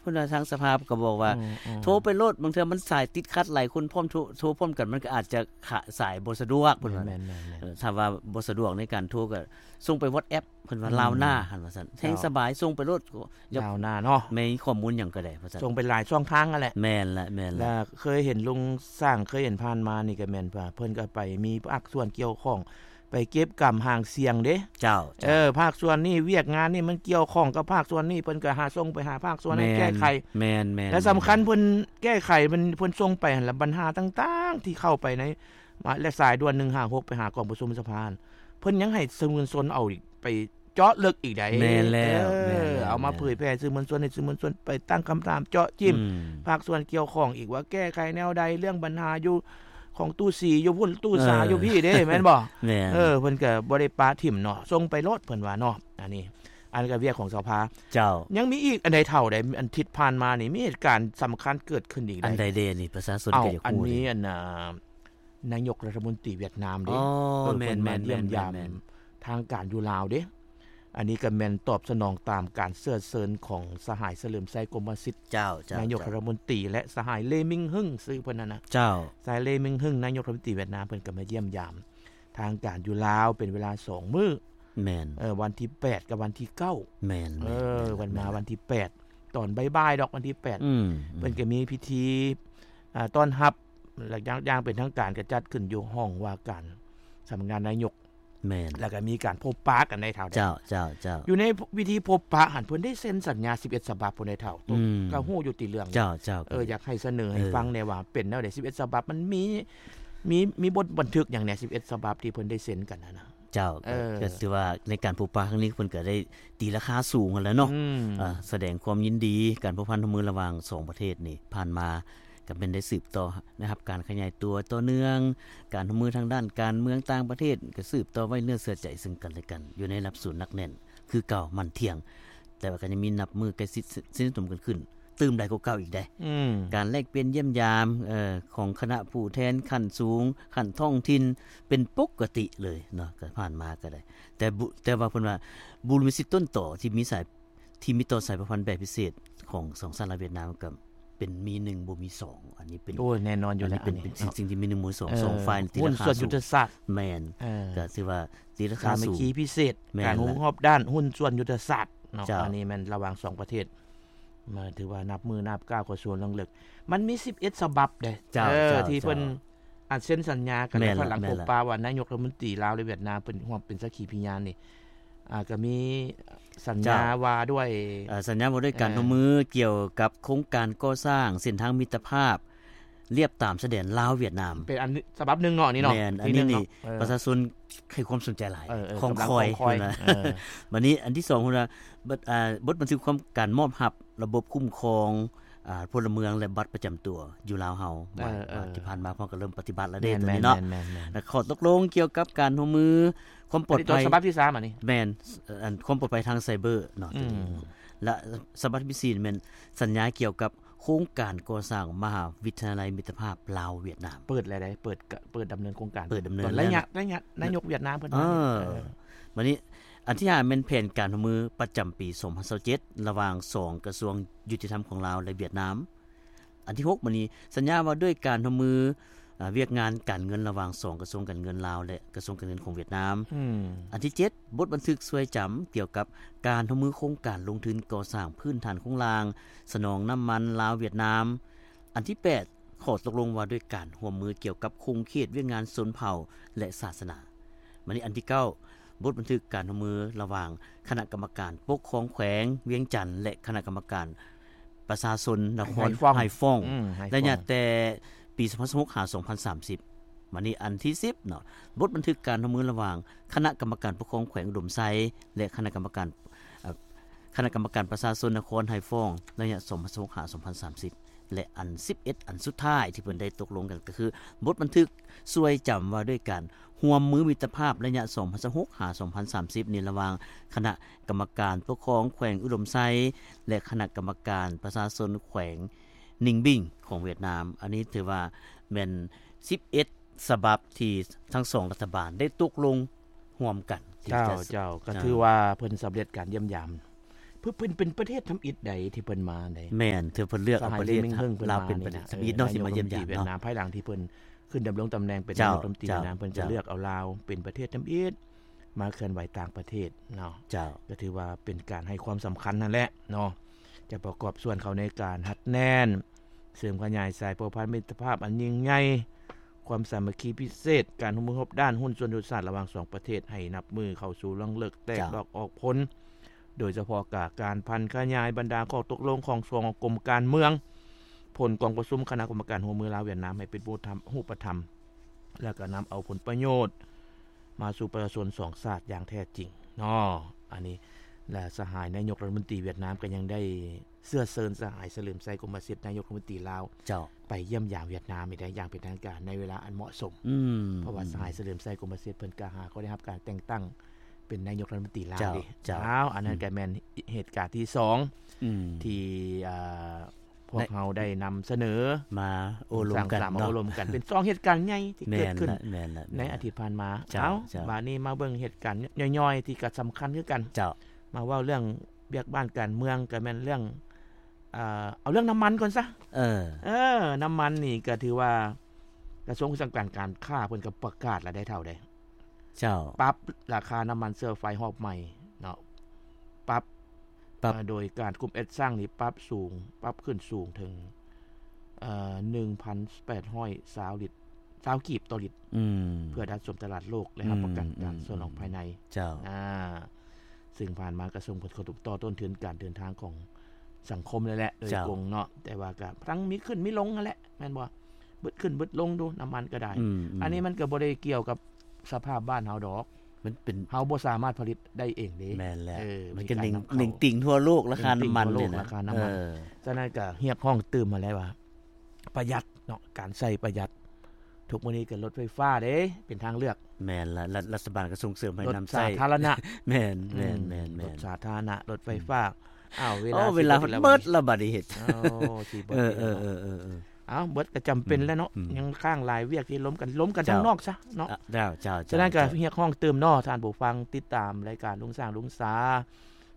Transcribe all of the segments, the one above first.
ເພິ່ນວ່າທາງສະພາກໍບອກວ່າ ອືມໆ ໂທໄປໂລດ ບາງເທື່ອມັນສາຍຕິດຂັດຫຼາຍຄົນພ້ອມໂທ ໂທພ້ອມກັນ ມັນກໍອາດຈະຂະ ສາຍບໍ່ສະດວກ ເພິ່ນວ່າ ແມ່ນໆໆໆ ເອີ ຖ້າວ່າບໍ່ສະດວກໃນການໂທກໍສົ່ງໄປ WhatsApp ເພິ່ນວ່າ ອືມ ລາວໜ້າຫັ້ນວ່າຊັ້ນ ແຮ່ງສະບາຍ ເຈົ້າ ສົ່ງໄປໂລດ ລາວໜ້າເນາະ ມີຂໍ້ມູນຫຍັງກໍໄດ້ວ່າຊັ້ນ ສົ່ງໄປຫຼາຍຊ່ອງທາງຫັ້ນແຫຼະ ແມ່ນລະ ແມ່ນລະ ລະເຄີຍເຫັນລຸງຊ້າງ ເຄີຍເຫັນຜ່ານມານີ້ກໍແມ່ນວ່າ ເພິ່ນກໍໄປມີພາກສ່ວນກ່ຽວຂ້ອງ ໄປເກັບກຳຫາງສຽງເດ້ ເຈົ້າ ເຈົ້າ ເອີ ພາກສ່ວນນີ້ ວຽກງານນີ້ມັນກ່ຽວຂ້ອງກັບພາກສ່ວນນີ້ ເພິ່ນກໍຫາ ສົ່ງໄປຫາພາກສ່ວນໃຫ້ ແມ່ນ ແກ້ໄຂ ແມ່ນໆໆ ແລະສຳຄັນເພິ່ນແກ້ໄຂ ເພິ່ນ ເພິ່ນສົ່ງໄປຫັ້ນລະ ບັນຫາຕ່າງໆທີ່ເຂົ້າໄປໃນ ມາ ແລະສາຍດ່ວນໜຶ່ງຫ້າຫົກ ໄປຫາກອງປະຊຸມສະພາ ເພິ່ນຍັງໃຫ້ສື່ມວນຊົນເອົາອີກ ໄປເຈາະເລິກອີກໃດ໋ ແມ່ນແລ້ວ ເອີ ແມ່ນແລ້ວ ເອົາມາເຜີຍແຜ່ສື່ມວນຊົນ ໃຫ້ສື່ມວນຊົນໄປຕັ້ງຄຳຖາມເຈາະຈິ້ມ ອືມ ພາກສ່ວນກ່ຽວຂ້ອງອີກວ່າແກ້ໄຂແນວໃດ ເລື່ອງບັນຫາຢູ່ຂອງຕູ້ສີຢູ່ພຸ້ນ ຕູ້ສາ ເອີ ຢູ່ພີ້ເດ້ ແມ່ນບໍ່? ແມ່ນ ເອີ ເພິ່ນກໍບໍ່ໄດ້ປະຖິ້ມເນາະ ສົ່ງໄປໂລດ ເພິ່ນວ່າເນາະ ອັນນີ້ ອັນນີ້ກໍວຽກຂອງສະພາ ເຈົ້າ ຍັງມີອີກອັນໃດເຖົ້າໃດ ອັນທິດຜ່ານມານີ້ ມີເຫດການສຳຄັນເກີດຂຶ້ນອີກໃດ ອັນໃດເດນີ້ ປະຊາຊົນກໍຢາກຮູ້ ອັນນີ້ ອັນນ່າ ນາຍົກລັດຖະມົນຕີຫວຽດນາມເດ້ ອໍ ເອີ ແມ່ນໆໆໆ ເພິ່ນມາຢ້ຽມຢາມທາງການຢູ່ລາວເດ້ ອັນນີ້ກໍແມ່ນຕອບສະໜອງຕາມການເຊື້ອເຊີນຂອງສະຫາຍ ສະເຫຼີມໄຊ ກົມມະສິດ ເຈົ້າ ເຈົ້າ ນາຍົກລັດຖະມົນຕີ ແລະ ສະຫາຍ ເລ ມິງຮຶງ ຊື່ເພິ່ນຫັ້ນນະ ເຈົ້າ ສະຫາຍ ເລ ມິງຮຶງ ນາຍົກລັດຖະມົນຕີຫວຽດນາມ ເພິ່ນກໍມາຢ້ຽມຢາມທາງການຢູ່ລາວເປັນເວລາສອງມື້ ແມ່ນ ເອີ ວັນທີແປດກັບວັນທີເກົ້າ ແມ່ນໆໆ ເອີ ເພິ່ນມາວັນທີແປດ ຕອນບ່າຍໆດອກ ວັນທີແປດ ອືມ ເພິ່ນກໍມີພິທີ ອ່າ ຕ້ອນຮັບ ແລະ ຢ່າງ ຢ່າງເປັນທາງການກໍຈັດຂຶ້ນຢູ່ຫ້ອງວ່າການສຳນັກງານນາຍົກ ແມ່ນ ແລ້ວກໍມີການພົບປະກັນໃນເຖົ້າ ເຈົ້າ ເຈົ້າ ເຈົ້າ ຢູ່ໃນພິທີພົບປະຫັ້ນ ເພິ່ນໄດ້ເຊັນສັນຍາສິບເອັດສະບັບພຸ້ນໃດເຖົ້າ ອືມ ກໍຮູ້ຢູ່ຕິເລື່ອງ ເຈົ້າ ເຈົ້າ ເອີ ຢາກໃຫ້ສະເໜີໃຫ້ ເອີ ຟັງແດ່ວ່າເປັນແນວໃດ ສິບເອັດສະບັບ ມັນມີ ມີ ມີບົດບັນທຶກຫຍັງແດ່ ສິບເອັດສະບັບທີ່ເພິ່ນໄດ້ເຊັນກັນຫັ້ນນະ? ເຈົ້າ ເອີ ກໍ ກໍຖືວ່າໃນການພົບປະຄັ້ງນີ້ ເພິ່ນກໍໄດ້ຕີລາຄາສູງຫັ້ນແຫຼະເນາະ ອືມ ເອີ ສະແດງຄວາມຍິນດີ ການພົວພັນຮ່ວມມືລະຫວ່າງສອງປະເທດນີ້ ຜ່ານມາກໍແມ່ນໄດ້ສືບຕໍ່ ໄດ້ຮັບການຂະຫຍາຍຕົວຕໍ່ເນື່ອງ ການຮ່ວມມືທາງດ້ານການເມືອງຕ່າງປະເທດ ກໍສືບຕໍ່ໄວ້ເນື້ອເຊື່ອໃຈເຊິ່ງກັນແລະກັນ ຢູ່ໃນລະດັບສູງໜັກແໜ້ນຄືເກົ່າ ໝັ້ນທ່ຽງ ແຕ່ວ່າກໍຍັງມີນັບມື້ໃກ້ຊິດສະໜິດສະໜົມກັນຂຶ້ນ ຕື່ມຫຼາຍກວ່າເກົ່າອີກເດ້ ອືມ ການແລກປ່ຽນຢ້ຽມຢາມ ເອີ ຂອງຄະນະຜູ້ແທນຂັ້ນສູງ ຂັ້ນທ້ອງຖິ່ນ ເປັນປົກກະຕິເລີຍເນາະ ກໍຜ່ານມາກໍໄດ້ ແຕ່ ແຕ່ວ່າເພິ່ນວ່າ ບູລິມະສິດຕົ້ນຕໍທີ່ມີສາຍ ທີ່ມີຕໍ່ສາຍພົວພັນແບບພິເສດຂອງສອງຊາດລາວຫວຽດນາມ ກໍເປັນມີໜຶ່ງບໍ່ມີສອງ ອັນນີ້ເປັນ ໂອ້ຍ ແນ່ນອນຢູ່ແລ້ວ ອັນນີ້ເປັນ ອັນນີ້ ເປັນສິ່ງທີ່ມີໜຶ່ງບໍ່ມີສອງ ເອີ ສອງຝ່າຍຕີລາຄາສູງ ຫຸ້ນສ່ວນຍຸດທະສາດ ແມ່ນ ເອີ ກໍຖືວ່າຕີລາຄາສູງ ສາມັກຄີພິເສດ ແມ່ນ ການຮູ້ຮອບດ້ານຫຸ້ນສ່ວນຍຸດທະສາດເນາະ ເຈົ້າ ອັນນີ້ແມ່ນລະຫວ່າງສອງປະເທດ ມາຖືວ່ານັບມື້ນັບກ້າວເຂົ້າສູ່ເລື່ອງເລິກ ມັນມີສິບເອັດສະບັບເດ້ ເຈົ້າ ເອີ ເຈົ້າ ທີ່ເພິ່ນ ເຈົ້າ ອັນເຊັນສັນຍາກັນ ແມ່ນລະ ແລ້ວພາຍຫຼັງ ແມ່ນລະ ພົບປະວ່ານາຍົກລັດຖະມົນຕີລາວ ແລະ ຫວຽດນາມ ເພິ່ນຮ່ວມເປັນສັກຂີພະຍານນີ້ ອ່າ ກໍມີສັນຍາ ເຈົ້າ ວ່າດ້ວຍ ເອີ ສັນຍາວ່າດ້ວຍການ ເອີ ຮ່ວມມືກ່ຽວກັບໂຄງການກໍ່ສ້າງເສັ້ນທາງມິດຕະພາບ ລຽບຕາມຊາຍແດນລາວຫວຽດນາມ ເປັນອັນສະບັບໜຶ່ງເນາະ ນີ້ເນາະ ແມ່ນ ອັນນີ້ນີ້ ເອີ ປະຊາຊົນໃຫ້ຄວາມສົນໃຈຫຼາຍ ເອີ ເອີ ຄອງຄອຍ ເອີ ບັດນີ້ອັນທີສອງ ເພິ່ນວ່າ ບົດ ອ່າ ບົດບັນທຶກຄວາມ ການມອບຮັບລະບົບຄຸ້ມຄອງ ອ່າ ພົນລະເມືອງ ແລະ ບັດປະຈຳຕົວຢູ່ລາວເຮົາ ເອີ ວ່າ ເອີ ທີ່ຜ່ານມາພວກກໍເລີ່ມປະຕິບັດແລ້ວເດ້ ແມ່ນໆ ຕົວນີ້ເນາະ ແມ່ນໆ ແລະ ຂໍ້ຕົກລົງກ່ຽວກັບການຮ່ວມມືຄວາມປອດໄພ ອັນນີ້ຕົວສະບັບທີສາມ ອັນນີ້ ແມ່ນ ອັນຄວາມປອດໄພທາງໄຊເບີເນາະ ອືມ ຕົວນີ້ ແລະ ສະບັບທີສີ່ ແມ່ນສັນຍາກ່ຽວກັບໂຄງການກໍ່ສ້າງມະຫາວິທະຍາໄລມິດຕະພາບລາວຫວຽດນາມ ເປີດແລ້ວໃດ ເປີດ ເປີດດຳເນີນໂຄງການ ເປີດດຳເນີນ ຕອນໄລຍະ ໄລຍະນາຍົກຫວຽດນາມເພິ່ນມາ ເອີ ມານີ້ ບັດນີ້ອັນທີຫ້າ ແມ່ນແຜນການຮ່ວມມືປະຈຳປີສອງພັນຊາວເຈັດ ລະຫວ່າງສອງກະຊວງຍຸຕິທຳຂອງລາວ ແລະ ຫວຽດນາມ ອັນທີຫົກ ບັດນີ້ ສັນຍາວ່າດ້ວຍການຮ່ວມມື ອ່າ ວຽກງານການເງິນລະຫວ່າງສອງກະຊວງການເງິນລາວ ແລະ ກະຊວງການເງິນຂອງຫວຽດນາມ ອືມ ອັນທີເຈັດ ບົດບັນທຶກຊ່ວຍຈຳກ່ຽວກັບການຮ່ວມມືໂຄງການລົງທຶນກໍ່ສ້າງພື້ນຖານໂຄງລ່າງ ສະໜອງນ້ຳມັນລາວ-ຫວຽດນາມ ອັນທີແປດ ຂໍ້ຕົກລົງວ່າດ້ວຍການຮ່ວມມືກ່ຽວກັບຂົງເຂດວຽກງານຊົນເຜົ່າ ແລະ ສາສະໜາ ບັດນີ້ອັນທີເກົ້າ ບົດບັນທຶກການຮ່ວມມືລະຫວ່າງຄະນະກຳມະການປົກຄອງແຂວງວຽງຈັນ ແລະ ຄະນະກຳມະການປະຊາຊົນນະຄອນໄຮຟອງ ໄຮຟອງ ອືມ ໄຮຟອງ ໄລຍະແຕ່ປີສອງພັນຊາວຫົກ ຫາ ສອງພັນສາມສິບ ບັດນີ້ອັນທີສິບເນາະ ບົດບັນທຶກການຮ່ວມມືລະຫວ່າງຄະນະກຳມະການປົກຄອງແຂວງອຸດົມໄຊ ແລະ ຄະນະກຳມະການ ເອີ ຄະນະກຳມະການປະຊາຊົນນະຄອນໄຮຟອງ ໄລຍະສອງພັນຊາວຫົກ ຫາ ສອງພັນສາມສິບ ແລະ ອັນສິບເອັດ ອັນສຸດທ້າຍທີ່ເພິ່ນໄດ້ຕົກລົງກັນ ກໍຄືບົດບັນທຶກຊ່ວຍຈຳວ່າດ້ວຍການຮ່ວມມືມິດຕະພາບໄລຍະສອງພັນຊາວຫົກ ຫາ ສອງພັນສາມສິບ ນີ້ລະຫວ່າງຄະນະກຳມະການປົກຄອງແຂວງອຸດົມໄຊ ແລະ ຄະນະກຳມະການປະຊາຊົນແຂວງນິງບິງຂອງຫວຽດນາມ ອັນນີ້ຖືວ່າແມ່ນສິບເອັດ ສະບັບທີ່ທັງສອງລັດຖະບານໄດ້ຕົກລົງຮ່ວມກັນທີ່ຈະ ເຈົ້າ ເຈົ້າ ກໍຖືວ່າເພິ່ນສຳເລັດການຢ້ຽມຢາມ ເພິ່ນເປັນປະເທດທຳອິດໃດທີ່ເພິ່ນມາໃດ. ແມ່ນ ເທື່ອເພິ່ນເລືອກເອົາປະເທດ ສະຫາຍເລມິງເຫິງ ເພິ່ນມາ ລາວເປັນປະເທດ ນີ້ນະ ທຳອິດເນາະ ເອີ ທີ່ມາຢ້ຽມຢາມເນາະ ນາຍົກລັດມົນຕີຫວຽດນາມ ພາຍຫຼັງທີ່ເພິ່ນຂຶ້ນດຳລົງຕຳແໜ່ງເປັນ ເຈົ້າ ນາຍົກລັດມົນຕີຫວຽດນາມ ເຈົ້າ ເພິ່ນກໍເລືອກເອົາລາວເປັນປະເທດທຳອິດ ມາເຄື່ອນໄຫວຕ່າງປະເທດເນາະ. ເຈົ້າ ກໍຖືວ່າເປັນການໃຫ້ຄວາມສຳຄັນນັ້ນແຫຼະເນາະ ຈະປະກອບສ່ວນເຂົ້າໃນການຮັດແໜ້ນ ເສີມຂະຫຍາຍສາຍພົວພັນມິດຕະພາບອັນຍິ່ງໃຫຍ່, ຄວາມສາມັກຄີພິເສດ, ການຮ່ວມມືຮອບດ້ານ, ຫຸ້ນສ່ວນຍຸດທະສາດລະຫວ່າງສອງປະເທດ ໃຫ້ນັບມື້ເຂົ້າສູ່ລະຫວ່າງເລິກແຕກ ເຈົ້າ ດອກອອກຜົນ, ໂດຍສະເພາະການຜັນຂະຫຍາຍບັນດາຂໍ້ຕົກລົງຂອງສອງກົມການເມືອງ, ຜົນກອງປະຊຸມຄະນະກຳມະການຮ່ວມມືລາວ-ຫວຽດນາມ ໃຫ້ເປັນຮູບທຳ ຮູບປະທຳ ແລ້ວກໍນຳເອົາຜົນປະໂຫຍດມາສູ່ປະຊາຊົນສອງຊາດຢ່າງແທ້ຈິງເນາະ. ອັນນີ້ ແລະ ສະຫາຍນາຍົກລັດຖະມົນຕີຫວຽດນາມກໍຍັງໄດ້ເຊື້ອເຊີນສະຫາຍສະເຫຼີມໄຊ ກົມມະສິດ ນາຍົກລັດຖະມົນຕີລາວ ເຈົ້າ ໄປຢ້ຽມຢາມຫວຽດນາມອີກໄດ້ຢ່າງເປັນທາງການໃນເວລາອັນເໝາະສົມ. ອືມ ເພາະວ່າ ອືມ ສະຫາຍສະເຫຼີມໄຊ ກົມມະສິດ ເພິ່ນກໍຫາກໍໄດ້ຮັບການແຕ່ງຕັ້ງເປັນນາຍົກລັດຖະມົນຕີລາວ ເຈົ້າ ເດ້. ເຈົ້າ ເອົາ ອັນນັ້ນ ອືມ ກໍແມ່ນເຫດການທີສອງ ອືມ ທີ່ ອ່າ ພວກເຮົາໄດ້ນຳສະເໜີມາໂອ້ລົມກັນເນາະ ມາໂອ້ລົມກັນ ເປັນສອງເຫດການໃຫຍ່ທີ່ເກີດຂຶ້ນ ແມ່ນລະ ແມ່ນລະ ໃນອາທິດຜ່ານມາ. ເຈົ້າ ເອົາ ເຈົ້າ ບາດນີ້ມາເບິ່ງເຫດການຍ່ອຍໆ ທີ່ກໍສຳຄັນຄືກັນ. ເຈົ້າ ມາເວົ້າເລື່ອງວຽກບ້ານການເມືອງ ກໍແມ່ນເລື່ອງ ເອີ ເອົາເລື່ອງນ້ຳມັນກ່ອນຊະ. ເອີ ເອີ ນ້ຳມັນນີ້ກໍຖືວ່າກະຊວງສັງກັດການຄ້າເພິ່ນກໍປະກາດແລ້ວໄດ໋ເຖົ້າໃດ. ເຈົ້າ ປັບລາຄານ້ຳມັນເຊື້ອໄຟຮອບໃໝ່ເນາະ ປັບ ປັບ ເອີ ໂດຍການກຸ່ມແອັດຊັງນີ້ປັບສູງ ປັບຂຶ້ນສູງເຖິງ ເອີ ໜຶ່ງພັນແປດຮ້ອຍຊາວລິດ ຊາວກີບຕໍ່ລິດ ອືມ ເພື່ອດັດສົມຕະຫຼາດໂລກ ແລະ ຮັບປະກັນການ ອືມ ສະໜອງພາຍໃນ. ເຈົ້າ ອ່າ ຊຶ່ງຜ່ານມາກໍສົ່ງຜົນກະທົບຕໍ່ຕົ້ນທຶນການເດີນທາງຂອງສັງຄົມແລ້ວແຫຼະ ໂດຍ ເຈົ້າ ກົງເນາະ ແຕ່ວ່າກໍທັງມີຂຶ້ນມີລົງຫັ້ນແຫຼະ ແມ່ນບໍ່? ບຶດຂຶ້ນບຶດລົງດູ ນ້ຳມັນກໍໄດ້. ອືມ ອືມ ອັນນີ້ມັນກໍບໍ່ໄດ້ກ່ຽວກັບສະພາບບ້ານເຮົາດອກ ມັນເປັນ ເຮົາບໍ່ສາມາດຜະລິດໄດ້ເອງເດ້. ແມ່ນແລ້ວ ເອີ ມັນກໍເໜັງ ມີການນຳເຂົ້າ ເໜັງຕິ່ງທົ່ວໂລກ ລາຄານ້ຳມັນນີ້ນະ ລາຄານ້ຳມັນ. ເອີ ສະນັ້ນກໍຮຽກຮ້ອງຕື່ມມາແລ້ວວ່າ ປະຢັດເນາະ ການໃຊ້ປະຢັດ. ທຸກມື້ນີ້ກໍລົດໄຟຟ້າເດ້ ເປັນທາງເລືອກ. ແມ່ນລະ ລັດ ລັດຖະບານກໍສົ່ງເສີມໃຫ້ນຳໃຊ້ ລົດສາທາລະນະ. ແມ່ນ ອືມ ແມ່ນ ແມ່ນ ລົດສາທາລະນະ ລົດໄຟຟ້າ. ອືມ ອ້າວ ເວລາ ໂອ້ ເວລາເບິດລະບາດນີ້ເຮັດ. ໂອ້ ຊິເບິດ ເອີ ເອີ ເອີ ເອີ ເອີ ອ້າວ ເບິດກໍຈຳເປັນແຫຼະເນາະ. ອືມ ຍັງຄ້າງຫຼາຍວຽກທີ່ລົມກັນ ລົມກັນ ເຈົ້າ ທາງນອກຊະເນາະ. ເຈົ້າ ເຈົ້າ ເຈົ້າ ເຈົ້າ ສະນັ້ນກໍຮຽກຮ້ອງຕື່ມເນາະ ທ່ານຜູ້ຟັງ ຕິດຕາມລາຍການລຸງຊ້າງ ລຸງສາ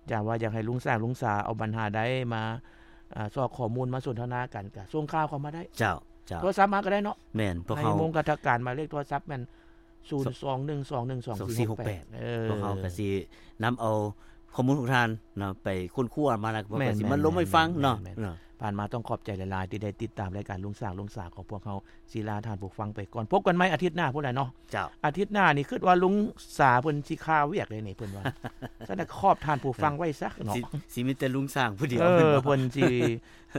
ຈະວ່າຢາກໃຫ້ລຸງຊ້າງ ລຸງສາເອົາບັນຫາໃດມາ ອ່າ ຊອກຂໍ້ມູນມາສົນທະນາກັນ ກໍສົ່ງຂ່າວເຂົ້າມາໄດ້. ເຈົ້າ ເຈົ້າ ໂທລະສັບມາກໍໄດ້ເນາະ. ແມ່ນ ພວກເຮົາ ໃນມຸມກະທະການ ໝາຍເລກໂທລະສັບແມ່ນ ສູນສອງໜຶ່ງສອງໜຶ່ງສອງສີ່ຫົກແປດ. ເອີ ພວກເຮົາກໍຊິນຳເອົາຂໍ້ມູນຂອງທ່ານເນາະ ໄປຄົ້ນຄວ້າມາ ແລ້ວພວກເຮົາກໍຊິມາລົມໃຫ້ຟັງເນາະ. ແມ່ນໆ ແມ່ນໆ ຜ່ານມາຕ້ອງຂອບໃຈຫຼາຍໆ ທີ່ໄດ້ຕິດຕາມລາຍການລຸງຊ້າງ ລຸງສາຂອງພວກເຮົາ. ຊິລາທ່ານຜູ້ຟັງໄປກ່ອນ ພົບກັນໃໝ່ອາທິດໜ້າພຸ້ນແຫຼະເນາະ. ເຈົ້າ ອາທິດໜ້ານີ້ຄິດວ່າລຸງສາເພິ່ນຊິຄາວຽກເດ້ນີ້ ເພິ່ນວ່າ. ຊັ້ນນະ ຂອບທ່ານຜູ້ຟັງໄວ້ຊະເນາະ. ຊິ ຊິມີແຕ່ລຸງຊ້າງຜູ້ດຽວ. ເອີ ເພິ່ນຊິ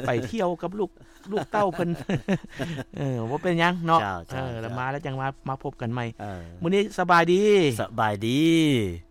ໄປທ່ຽວກັບລູກ ລູກເຕົ້າເພິ່ນ. ເອີ ບໍ່ເປັນຫຍັງເນາະ. ເຈົ້າ ເຈົ້າ ເອີ ແລ້ວມາແລ້ວຈັ່ງມາ ມາພົບກັນໃໝ່. ເອີ ມື້ນີ້ສະບາຍດີ. ສະບາຍດີ.